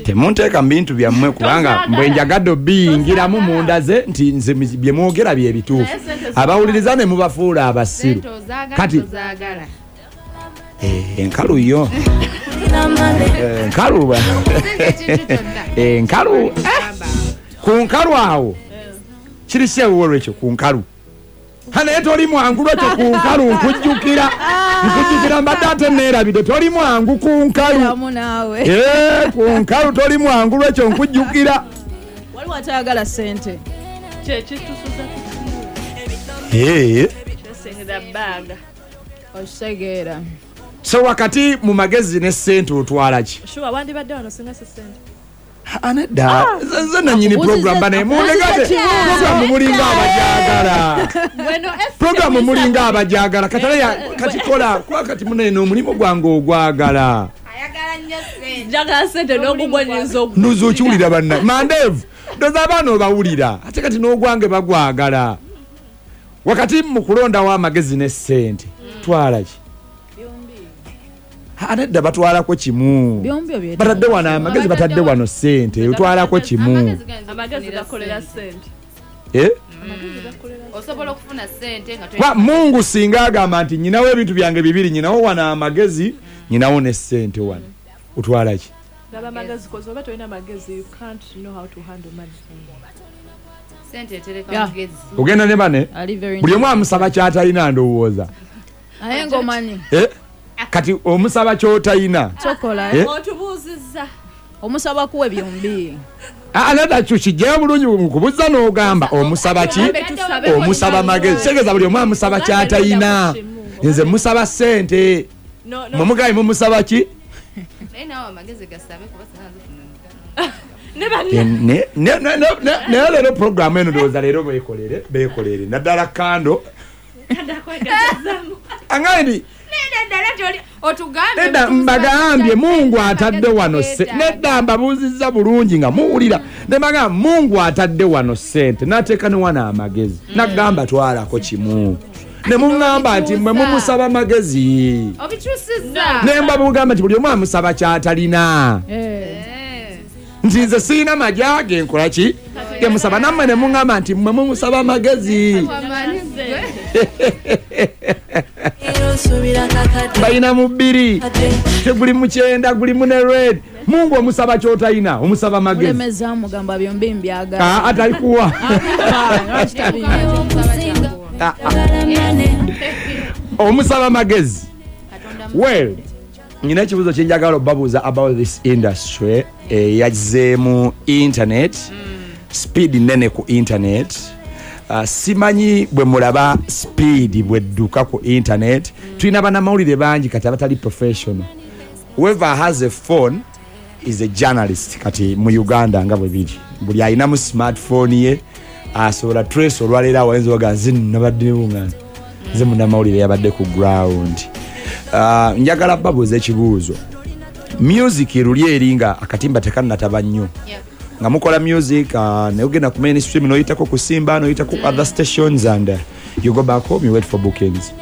Temunteeka mu bintu byammwe, kubanga bwe njagadde obiyingiramu mundaze nti nze bye mwogera bye bituufu, abawuliriza ne mubafuula abasiru. Kati enkalu yo enkalu enkalu ku nkalu awo kiri kyewuwo lwekyo ku nkalu naye toli mwangu lwekyo ku nkalu nkujjukira mbadde ate neerabidde toli mwangu ku nkalu ku nkalu toli mwangu lwekyo nkujjukira. Waliwo atayagala ssente. So wakati mu magezi ne ssente otwala ki? Anedda nze nannyini program bane mundegate program mulinga abajagala program mulinga abajagala katale kati kola kwa kati munene omulimu gwange ogwagala ayagala nnyo ssente njagala ssente n'ogugwanyiza nuzo okiwulira banna mandevu ndoza abaana obawulira ate kati n'ogwange bagwagala. Wakati mu kulondawo amagezi ne ssente twala ki? Anedda batwalako kimu, batadde wano amagezi, batadde wano ssente, otwalako kimu. Amagezi gakolera ssente. Osobola okufuna ssente nga Mungu singa agamba nti nyinawo ebintu byange bibiri, nyinawo wano amagezi, nyinawo ne ssente wano, otwala ki? Amagezi kozi oba tolina magezi, you can't know how to handle money. Ssente etereka mugezi. Ogenda ne bane buli omu amusaba ky'atalina ndowooza. Naye ng'omanyi kati omusaba ky'otayina otubuuzizza omusaba kuwe byombi. Anada kijjayo bulungi nkubuuza n'ogamba omusaba ki? Omusaba magezi. Kitegeeza buli omu amusaba ky'atayina. Nze musaba ssente, mwe mumusaba ki? Naye leero programu eno ndowooza leero beekolere naddala kando angaini nedda mbagambye Mungu atadde wano nedda mbabuuzizza bulungi nga muwulira ne mbagamba Mungu atadde wano ssente n'ateeka ne wano amagezi n'agamba twalako kimu ne muŋŋamba nti mmwe mumusaba magezi ne mbabugamba nti buli omu amusaba ky'atalina nti nze sirina magya ge nkola ki gemusaba, nammwe ne muŋŋamba nti mmwe mumusaba magezi. Balina mu bbiri teguli mu kyenda guli mu ne red. Mungu omusaba ky'otalina omusaba magezi atalikuwa. Omusaba magezi. Well, nyina ekibuuzo kye njagala obabuuza about this industry eyazzeemu internet, speed nene ku internet. Simanyi bwe mulaba speed bwedduka ku internet. Tulina bannamawulire bangi kati abatali professional. Whoever has a phone is a journalist kati mu Uganda nga bwe biri. Buli alinamu smartphone ye asobola trace olwaleero awayinza oga nze nabadde bungana nze munnamawulire yabadde ku ground. Njagala babuuza ekibuuzo. Music luli eri nga akatimba tekannataba nnyo nga mukola music naye ogenda ku mainstream n'oyitako ku Simba n'oyitako ku other stations and you go back home, you wait for bookings.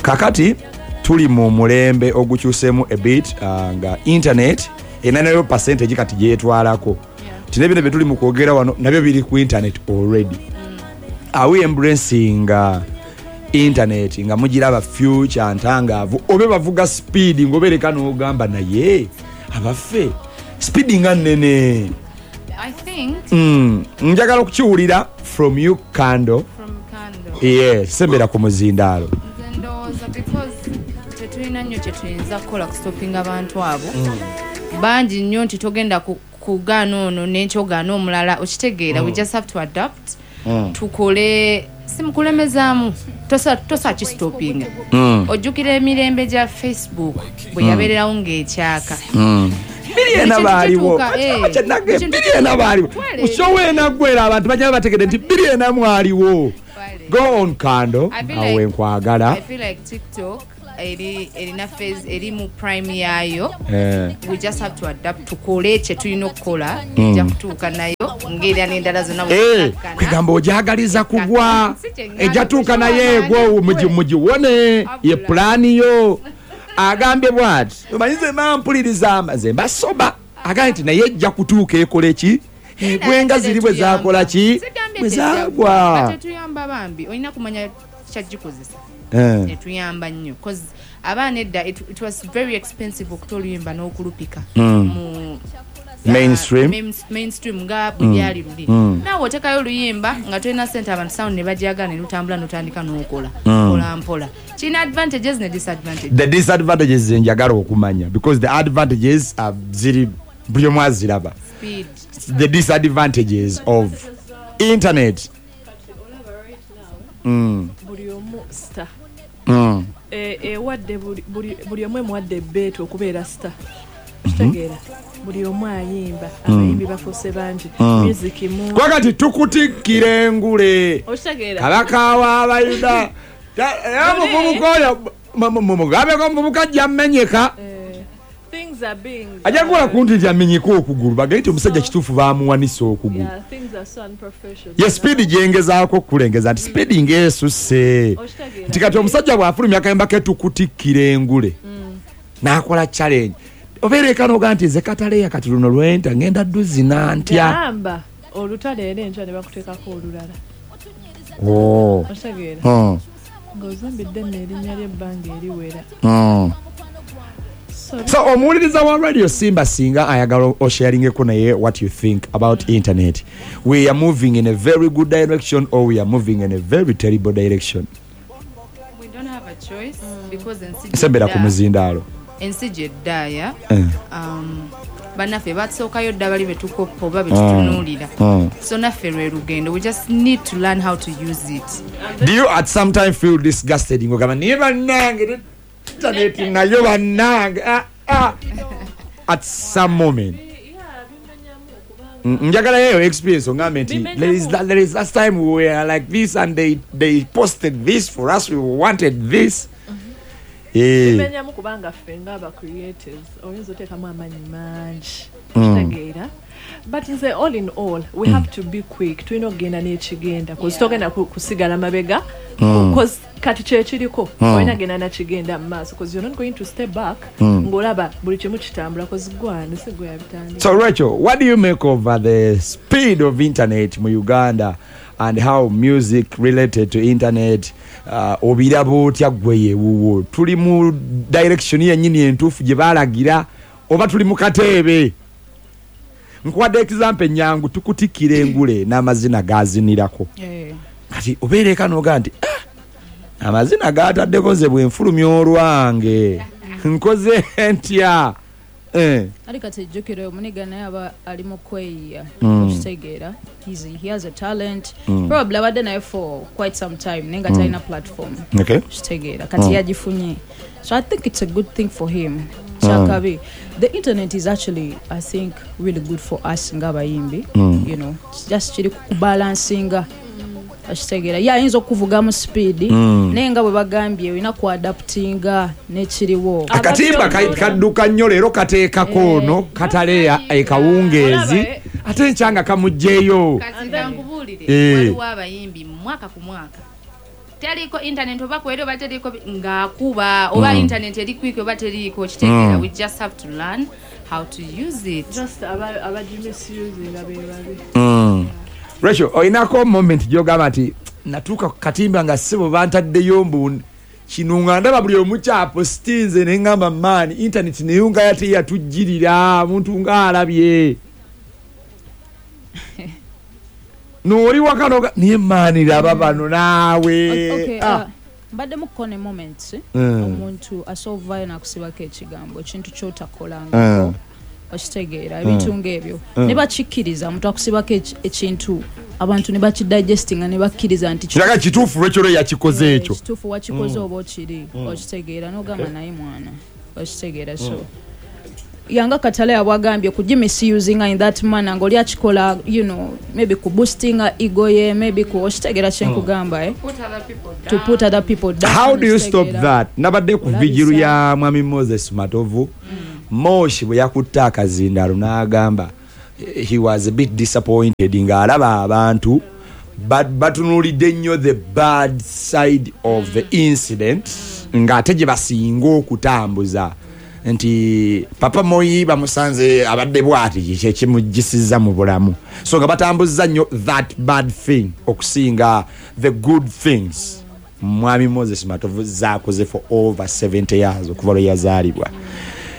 Kakati tuli mu mulembe ogukyuseemu a bit nga internet erina nayo percentage kati gyetwalako. Tine bino bye tuli mu kwogera wano nabyo biri ku internet already. Are we embracing internet nga mugiraba future ntangaavu obe bavuga speed ng'obeereka n'ogamba naye abaffe speed nga nnene? I think njagala okukiwulira from you Kando. From Kando. Yes, sembera ku muzindaalo. Nze ndowooza because tetulina nnyo kye tuyinza kukola kustopinga abantu abo bangi nnyo nti togenda kugaana ono n'enkyogaana omulala okitegeera. We just have to adapt. Tukole simukulemezaamu tosa kistopinga. Ojjukira emirembe gya Facebook bwe yabeererawo ng'ekyaka. Biri baaliwo biri baaliwo ushowe naggwera abantu bajja bategedde nti biri ena mwaliwo. Go on Kando, awe nkwagala. I feel like TikTok erina phase eri mu prime yayo. We just have to adapt tukole kye tulina okukola ejja kutuuka nayo ng'era n'endala zonna. Kwegamba ojagaliza kugwa ejja tuuka naye egwo mugiwone ye pulaani yo. Agambye bw'ati, omanyi nze mampuliriza nze mbasoba, agambye nti naye ejja kutuuka ekola ki, egwenga ziri bwe zakola ki, bwe zaagwa. Tetuyamba bambi, olina kumanya kyagikozesa. Etuyamba nnyo cause abaana edda it was very expensive okuta oluyimba n'okulupika mu mainstream, mainstream nga bwe byali luli. Naawe otekayo oluyimba nga tolina ssente, abantu sound ne bajagala ne lutambula n'otandika n'okola mpola mpola. Kirina advantages ne disadvantages. The disadvantages njagala okumanya because the advantages are ziri buli omu aziraba. Speed. The disadvantages of internet. Buli omu star. Ewadde buli omu emuwadde ebbeetu okubeera star. Kitegeera buli omu ayimba, abayimbi bafuuse bangi, music mu Kwakati tukutikkira engule. Okitegeera. Kabaka w'Abayuda. Omuvubuka oyo mugambeko omuvubuka ajja mmenyeka. Things are being Ajja kukola ku nti nti amenyeka okugulu, bagende nti omusajja kituufu baamuwanisa okugulu. Yeah, things are so unprofessional. Ye speed gyengezaako okukulengeza nti speed ng'esusse. Okitegeera. Nti kati omusajja bw'afulumya akayimba ke tukutikkira engule, n'akola challenge. Obeera eka n'ogaa nti nze Kataleya kati luno lwenta ngenda dduzina ntya. Gamba olutalo era enkya ne bakuteekako olulala. Okitegeera. Ng'ozimbidde nno erinnya ly'ebbanga eriwera. So omuwuliriza wa Radio Simba singa ayagala osharingeko naye what you think about internet. We are moving in a very good direction or we are moving in a very terrible direction. We don't have a choice because ensi Sembera ku muzindaalo. Ensi gyeddaaya, bannaffe batusookayo dda bali betukoppa oba betutunuulira. So naffe lwe lugendo, we just need to learn how to use it. Do you at some time feel disgusted ng'ogamba naye bannange internet nayo bannange at some moment? Njagala yeyo experience ongambe nti there is last time we were like this and they posted this for us, we wanted this. Bimenyamu kubanga ffe ng'aba creatives oyinza oteekamu amaanyi mangi, okitegeera. But nze all in all we have to be quick, tulina okugenda n'ekigenda cause togenda kusigala mabega cause kati kyekiriko olina genda nakigenda mu maaso cause you're not going to step back ng'olaba buli kimu kitambula cause gwane si gwe yabitandika. So Rachel, what do you make of the speed of internet mu Uganda and how music related to internet obiraba otya gwe yewuwo? Tuli mu direction yennyini entuufu gye baalagira oba tuli mu kateebe? Nkuwadde example ennyangu, tukutikkira engule n'amazina gazinirako. Kati obeera eka n'ogaa nti amazina gaataddeko nze bwe nfulumya olwange nkoze ntya? Ali kati jjukira omuniga naye aba ali mu kweyiya, okitegeera. He has a talent. Probably abadde naye for quite some time naye nga talina platform. Okitegeera kati yagifunye. So I think it's a good thing for him. Kyakabi. The internet is actually, I think, really good for us ng'abayimbi. You know, just kiri kubalansinga. Okitegeera ye ayinza okuvuga mu speed naye nga bwe bagambye olina kuadaptinga n'ekiriwo. Akatimba kadduka nnyo leero kateekako ono Kataleya ekawungeezi ate enkyanga kamuggyeyo. Kati nkubuulire, waliwo abayimbi mwaka ku mwaka teriko internet oba kweri oba teriko ng'akuba oba internet eri quick oba teriko, kitegeera. We just have to learn how to use it. Just abagimisusinga be babi. Rachel, olinako moment gy'ogamba nti natuuka ku katimba nga ssebo bantaddeyo mbu kino nga ndaba buli omu kyapositinze ne ŋŋamba maani internet nayo nga yate yatujjirira omuntu ng'alabye. N'oli waka n'oga naye maani laba bano naawe. Mbadde mukone moment omuntu asovayo n'akusibako ekigambo ekintu ky'otakolangako. Okitegeera ebintu ng'ebyo ne bakikkiriza omuntu akusibako ekintu abantu ne bakidigestinga ne bakkiriza nti kiraga kituufu Rachel yakikoze ekyo. Kituufu wakikoze oba okiri, okitegeera n'ogamba naye mwana, okitegeera. So yanga Kataleya bwagambye kugimisusinga in that manner ng'oli akikola, you know, maybe ku boostinga ego ye, maybe ku okitegeera kye nkugamba, to put other people down. How do you stop that? Nabadde ku vigiru ya Mwami Moses Matovu. Moshi bwe yakutte akazindaalo n'agamba he was a bit disappointed ng'alaba abantu batunuulidde nnyo the bad side of the incident. Ng'ate gye basinga okutambuza nti Papa Moyi bamusanze abadde bwati, kyekimugisiza mu bulamu. So nga batambuza nnyo that bad thing okusinga the good things Mwami Moses Matovu zakoze for over 70 years okuva lwe yazaalibwa.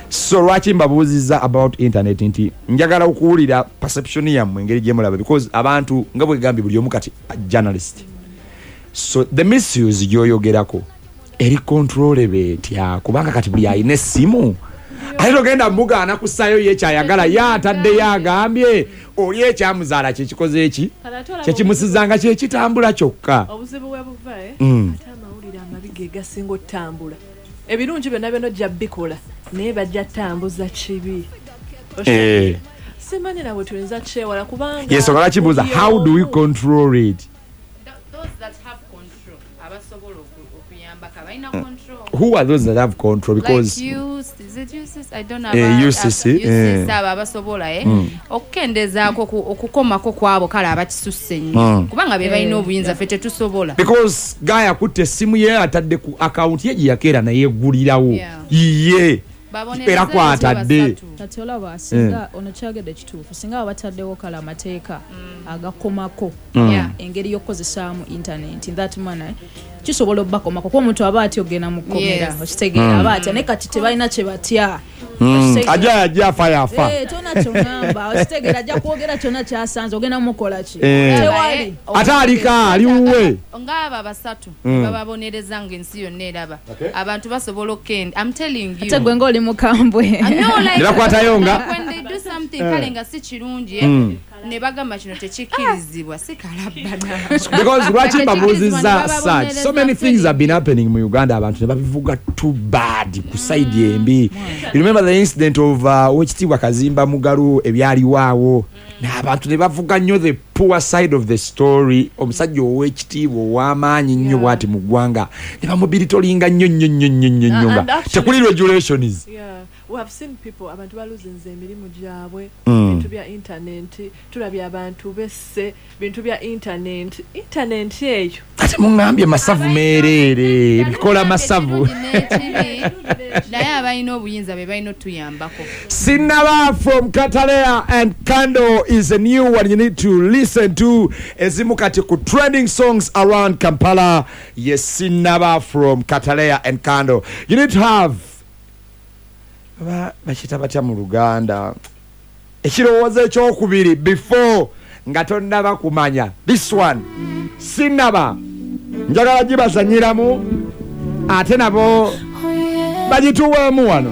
So lwaki mbabuuziza about internet, nti njagala okuwulira perception yammwe, engeri gyemulaba, because abantu nga bwegambye buli omu kati journalist. So the misuse gyoyogerako eri controllable etya? Kubanga kati buli alina essimu ate togenda mugaana kusaayo ye kyayagala, ye ataddeyo agambye oli ekyamuzaala kyekikoze eki kyekimusizanga kyekitambula kyokka. Obuzibu we buva, eh? Ate amawulire amabi ge gasinga otambula. Ebirungi byonna byonna ojja bikola, naye bajja tambuza kibi. Simanyi nabwe tuyinza kyewala, kubanga Yensonga lwaki mbuuza, buli how do we omu- control it? Those that have control, abasobola okuyambako abalina control. Who are those that have control? Because Like you, is it UCC? I don't know. UCC, UCC, abo abasobola okukendezaako okukomako kwabo kale abakisusse ennyo, kubanga be balina obuyinza, ffe tetusobola. Because guy akutte essimu ye, atadde ku akawunti ye gye yakeera nayeggulirawo ye Babonereze era kwatadde. basatu. Kati olaba singa ono kyagedde kituufu, singa baba bataddewo kale amateeka agakomako engeri y'okukozesaamu internet in that manner, kisobola obbakomako, kuba omuntu aba atya ogenda mu kkomera. Okitegeera? Aba atya, naye kati tebalina kye batya. Okitegeera? Ajja ajja afa yafa. Eh, tona kyongamba, okitegeera, ajja kwogera kyonna kyasanze, ogenda mukola ki? Tewali. Ate alika ali wuwe. Ng'abo abasatu bababonereza ng'ensi yonna eraba. Abantu basobola okukenda, I'm telling you. Ate gwe ng'oli mukambwe. Ah, no, like, Ne bakwatayo nga- when they do something kale nga si kirungi, ne bagamba kino tekikkirizibwa, si kalabbana. Because lwaki mbabuuziza Bababonereza. such, so many things have been happening mu Uganda, abantu ne babivuga too bad ku side embi. You remember the incident of Owekitiibwa Kazimba Mugalu, ebyaliwo n'abantu ne bavuga nnyo the poor side of the story, omusajja ow'ekitiibwa ow'amaanyi nnyo bw'ati mu ggwanga ne bamubiritolinga nnyo nnyo nnyo nnyo nnyo nnyo nga And actually- tekuli regulations. Yeah, we have seen people, abantu baluzinze emirimu gyabwe bintu bya internet. Tulabye abantu besse bintu bya internet, internet eyo. Ate muŋŋambye masavu meereere, bikola masavu. N'ekibi, naye abalina obuyinza be balina otuyambako. Sinaba from Katalea and Kando is a new one you need to listen to. Ezimu kati ku trending songs around Kampala. Yes, Sinaba from Katalea and Kando. You need to have bakiyita batya mu Luganda, ekirowoozo ekyokubiri before nga tonnaba kumanya. This one, Sinaba, njagala gibazanyiramu ate nabo bagituweemu wano.